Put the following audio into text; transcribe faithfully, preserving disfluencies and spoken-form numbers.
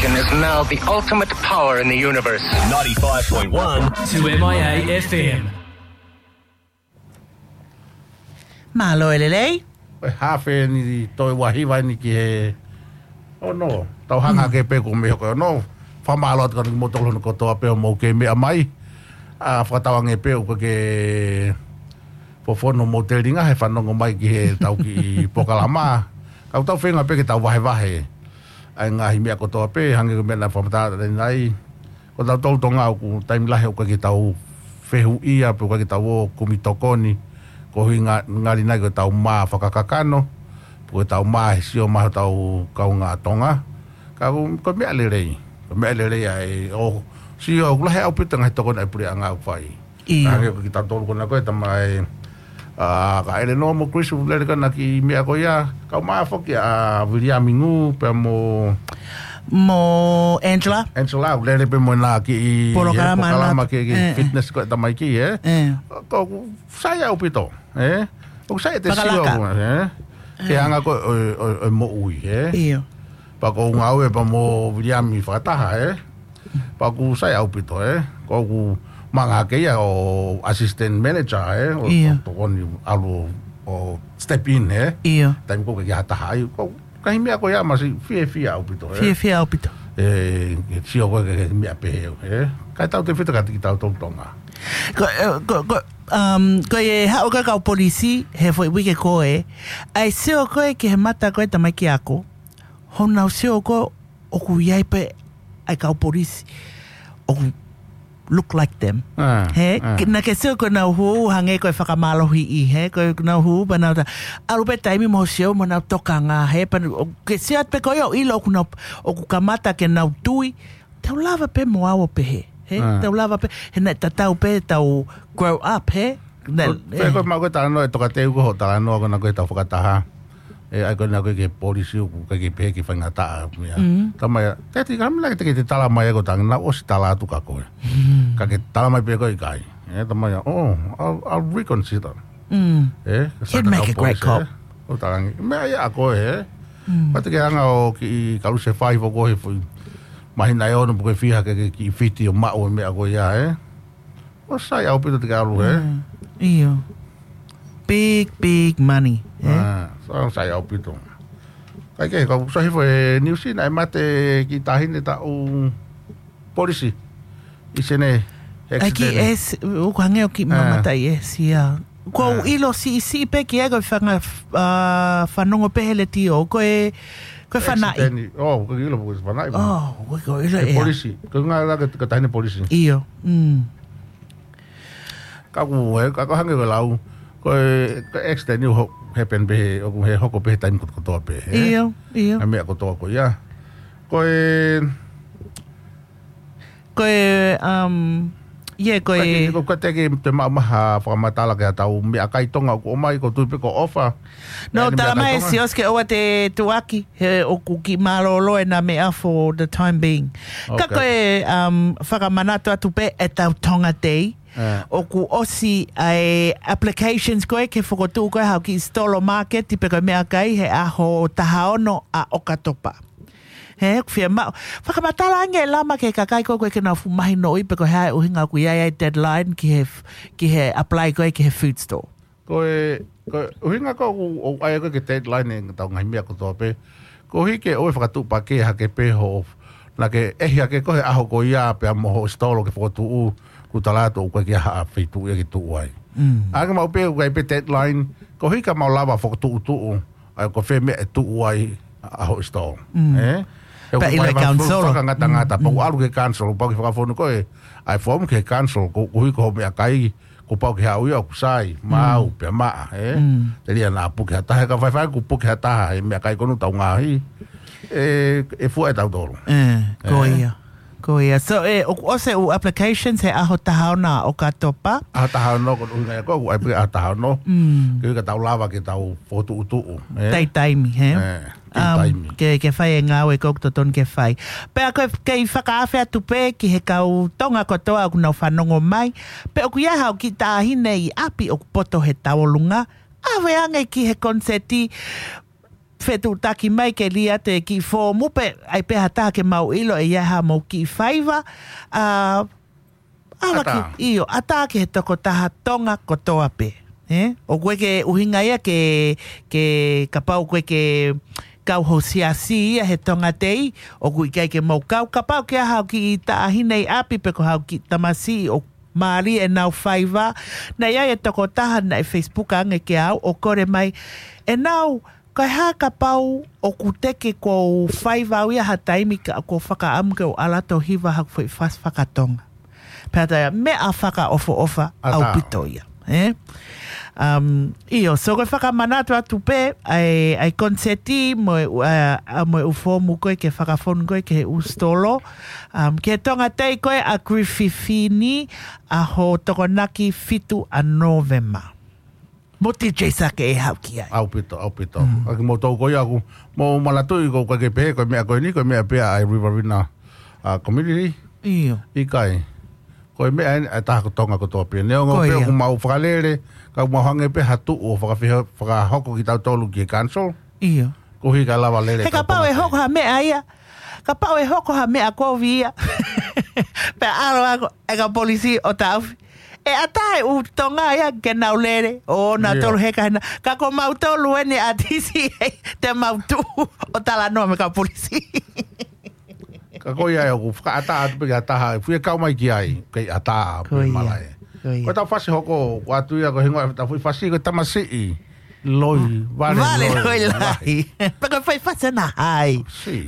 Is now the ultimate power in the universe. Ninety-five point one two M I A F M. Mālō e lelei. Ko e hafe ni toe ua hiva ni ki he ono. Tau hanga ke pē ko me hoko e ono. Fakamālō atu kimoutolu hono kotoa pē ʻoku mou kei meʻa mai. ʻA, fakatauange pē ʻoku ke fofonga mo telinga he fanongo mai ki he tau kiʻi polokalama. Kau tau feinga pē ke tau vahevahe ʻa e ngaahi meʻa kotoa pē, hangē ko e meʻa naʻe fakamatala ʻanenai. Ko tautolu Tonga ʻoku taimi lahi ʻoku ʻikai ke tau fehuʻia, pe ʻoku ʻikai ke tau ō kumi tokoni, koeʻuhi ngali nai ko e tau mā fakakakano, pe ko e tau mā he sio mai hotau kaungā Tonga. Ka ko, ko e meʻa lelei, ko e meʻa lelei ʻa e ō sio ʻoku lahi ʻaupito ngaahi tokoni ʻa e puleʻanga ʻoku fai. ʻIo. Hangē ko kitautolu ko ena ko e tamai, ʻa, ka Eleanor mo Chris ʻoku lele ko ena ki he meʻa ko ia, kau mā foki ʻa Viliami Ngū pea mo mo Angela. Angela, ʻoku lele pē mo ena ki he polokalama polokalama ʻana. Ki, ki ʻE, ʻe. Fitness ko e tamaiki, ē? ʻE. Ko, ʻoku sai ʻaupito, ē? ʻOku sai ʻete sio Fakalaka. Ko, ē? Ke ʻE. Anga ko e, ʻo, ʻo, ʻo moʻui, ē? ʻIo. Pea ko e ngāue pea mo Viliami fakataha, ē? Pea ʻoku sai ʻaupito, ē? Ko ʻeku manga hake ia ʻo assistant manager, ē? ʻO, ʻIo. ʻO tokoni ʻalu ʻo step in, ē? ʻIo. Taimi ko ē ʻikai ha taha ai, ko e ngaahi meʻa ko ia masi fiefia ʻaupito, ē? Fiefia ʻaupito. ʻE, ke sio ko e, ke, ke meʻa pehē, ē? Kae tautefito kiate kitautolu Tonga. Ko, ʻe, ko, ko, um, ko e haʻu ko e kau polisi, he foʻi uike ko ē, ʻa e sio ko ē ki he mata ko e tamaiki ako, hoʻo nau sio ko ē ʻoku ʻi ai pē ʻa e kau polisi ʻoku look like them. ʻA, He, ʻa. Ke, naʻa ke sio ko ʻenau hū, hangē ko e fakamālohiʻi, he, ko ʻenau hū, pea nau ta, ʻalu pē taimi mo sio, mo nau tokanga, he, pea ʻoku ke sio atu pē ko ia ʻo ʻilo ʻoku nau, ʻoku kamata ke nau tui, tau lava pē mo au ʻo pehē, he, ʻA. Tau lava pē, he naʻe tatau pē, tau grow up, he, naʻe, Ko, pē ʻe. Ko e mau ko e talanoa, ʻe toka teu ko hoʻo talanoa ko ena ko e tau fakataha. ʻE, ʻai ko ena ko e ke polisi ʻoku ʻikai ke pehē ke faingataʻa, meʻa. Mm. Tamai, te ti kamila ke te, ke te tala mai ko e tangata naʻa ʻosi tala atu kia koe. Mm. Ka ke tala mai pē ko e ʻikai. ʻE, tamai, oh, I'll, I'll reconsider. Mm. ʻE, You'd make a great cop. ʻO talangi. Meʻa ia ʻa koe, ē? Mm. Pea te ke hanga ʻo kiʻi kalu se fai foko he foʻi. Mahina ʻe ono pe ko e fiha ke, ke kiʻi fiti ʻo maʻu e meʻa ko ia, ē? ʻOku sai ʻaupito te ke ʻalu, ē? Mm. ʻIo. Big, big money, ē? ʻA, sai, sai ʻaupito. Kae kehe, kau sio hifo he niusi naʻe mate kiʻi taʻahine taʻu polisi. ʻI Senē, ʻAi ki accident. ʻEsi, ʻoku hangē ʻoku kiʻi ʻA. Mamata ʻi ʻEsi, ia. Ko ʻeku ʻA. ʻIlo siʻisiʻi pē ki ai ko e fanga, ʻa, fanongo pē he letiō, ko e, ko e fanaʻi. Accident. Oh, ko e ʻilo ko e fanaʻi. Oh, ko e, ko e ʻilo He ʻea. Polisi. Ko e ngā la ke, ke taʻahine polisi. ʻIo, mm. Ka ʻoku, he, ka ʻoku hangē ko e lau, ko e, ko e accident ʻoku happen pē he, ʻoku he hoko pē he taimi kotoa pē, he? ʻIo, ʻio. ʻA e meʻa kotoa ko ia. Ko e Ko e, um, yeah, ko Ko e e ko, ko e te ke te maʻu mai ha fakamatala ki he tau meʻakai Tonga ʻoku ʻomai, ʻoku ou tui pē ko e ʻofa. No, ʻEne tala meʻakai mai Tonga. Sios ke ʻoua te tuʻaki, he ʻoku kiʻi mālōlō ʻena meʻa for the time being. Ka Okay. ko e, um, fakamanatu atu pē ʻetau Tonga Day. ʻE. ʻOku ʻosi ʻa e applications ko ē ke fokotuʻu ko ē haʻo kiʻi sitolo market pe ko e meʻakai he ʻaho taha ono ʻa ʻOkatopa. He, ʻoku fiemaʻu. Fakamatala ange ʻe Lama ki he kakai ko ē ʻoku ʻikai ke nau fuʻu mahinoʻi pe ko e hā e ʻuhinga ʻoku ʻi ai ʻa e deadline ki he, ki he apply ko ē ki he food store. Ko e, ko e ʻuhinga ko ē ʻoku, ʻoku ʻai ko ē ke deadline ʻetau ngaahi meʻa kotoa pē. Koeʻuhi ke ʻoua ʻe fakatuʻupakē hake pē hoʻo, naʻa ke ʻehi hake ko ē he ʻaho ko ia pea mo hoʻo sitolo ke fokotuʻu, kuo tala atu ʻoku ʻikai ke ʻi ai ha feituʻu ia ke tuʻu ai. Mm. ʻAnge maʻu pē ʻoku ʻi ai pē deadline, koeʻuhi ka mau lava fokotuʻutuʻu, ʻa ia ko fē meʻa ʻe tuʻu ai ʻa hoʻo sitolo. Mm. Ē? He Pea ʻoku ʻilo e fai council. Fakangatangata, Mm, pau mm. ʻalu ki he council, pau ke fakafonu ko ē ʻa e form ki he council, ko, koeʻuhi ko hoʻo meʻakai, kuo pau ke haʻu ia ʻoku sai, maau, Mm. pea maʻa, ē? Mm. Telia naʻa puke ha taha, ka faifai kuo puke ha taha, he meʻakai ko ena ʻoku tau ngaohi, ʻe, ʻe fua ʻe tautolu. Ē, ko Ē? ia. Ko ia. So, ē, ʻoku ʻosi e ʻū applications he ʻaho taha ono ʻo ʻOkatopa. ʻAho taha ono ko e ʻuhinga ia ko ē, ʻoku ʻai pē ʻaho taha ono. Mm. Ke ʻuhi ka tau lava ke tau fokotuʻutuʻu, ē? Taimi, he? Ē, Um, taimi. ke, ke fai e ngāue ko ē ʻoku totonu ke fai. Pea ko e kei fakaafe atu pē ki he kau Tonga kotoa ʻoku nau fanongo mai. Pe ʻoku ʻi ai haʻo kiʻi taʻahine ʻi ʻapi ʻoku poto he tauʻolunga. ʻAve ange ki he koniseti. fetuʻutaki mai ke liʻaki e kiʻi foomu pe ʻai pē ha taha ke mau ʻilo ʻe ʻi ai haʻamou kiʻi faiva. A, ʻAtā. ʻAtā ki, ʻio, ʻatā ki he tokotaha Tonga kotoa pē. Ē? ʻOku ʻikai ke ʻuhinga ia ke, ke kapau ʻoku ʻikai ke kau ho siasi ia he Tonga Day, ʻoku ʻikai ke mau kau, kapau ʻoku ʻi ai haʻo kiʻi taʻahine ʻi ʻapi pe ko haʻo kiʻi tamasiʻi ʻoku mālie ʻenau faiva. Naʻe ʻi ai e tokotaha naʻe Facebook ange kiate au ʻo kole mai, ʻenau, ko e hā kapau ʻoku teʻeki ke u faiva au ia ha taimi ka ʻoku ou fakaʻamu ke u ʻalu atu ʻo hiva haʻaku foʻi fasi faka-Tonga. Pea tā ia, meʻa fakaʻofoʻofa ʻAtā. ʻAupito ia. Ē? Um, ʻio, so ko e fakamanatu atu pē, ʻai, ʻai koniseti mo e, ʻa, ʻa mo e ʻū foomu ko ē ke fakafonu ko ē ki he ʻū sitolo. Um, ki he Tonga Day ko ē ʻa Griffith ni ʻaho Tokonaki fitu ʻa Nōvema. Mo D J Sake ʻe haʻu ki ai. ʻAupito, ʻaupito. Mm. ʻA kimoutolu ko ia ʻoku mou manatuʻi ko ʻeku pehē, ko e meʻa ko eni, ko e meʻa pē ia ʻa e Riverina, ʻa, community. ʻIo. ʻIkai. Ko e meʻa eni ʻa e taha ko Tonga kotoa pē. Neongo Ko pē ia. ʻoku mau fakalele, ka ʻoku mau hangē pē ha tuʻu ʻo fakafeho-, fakahoko kitautolu ki he council. ʻIo. Koeʻuhi ka lava lele He ka kapau ʻe Tonga hoko pē. ha meʻa ia. Kapau ʻe hoko ha meʻa kovi ia. Pea ʻalu ʻa e kau polisi ʻo taʻofi. ʻE ʻatā e ʻū Tonga ia ke nau lele, ʻo nau ʻIo. tolu heka hena. Ka ko mautolu eni ʻa D C A, te mau tuʻu ʻo talanoa mo e kau polisi. Ka ko ia ʻoku fakaʻatā atu pē ki ha taha, fie kau mai ki ai, kei ʻatā Ko pē ia. malaʻe. Ko ia. Ko e tau fasi hoko, ko atu ia ko e hingoa ʻetau foʻi fasi, ko e tamasiʻi loi, vale Vale loi loi lahi. lahi. Pea ko e foʻi fasi ʻana hai. Si.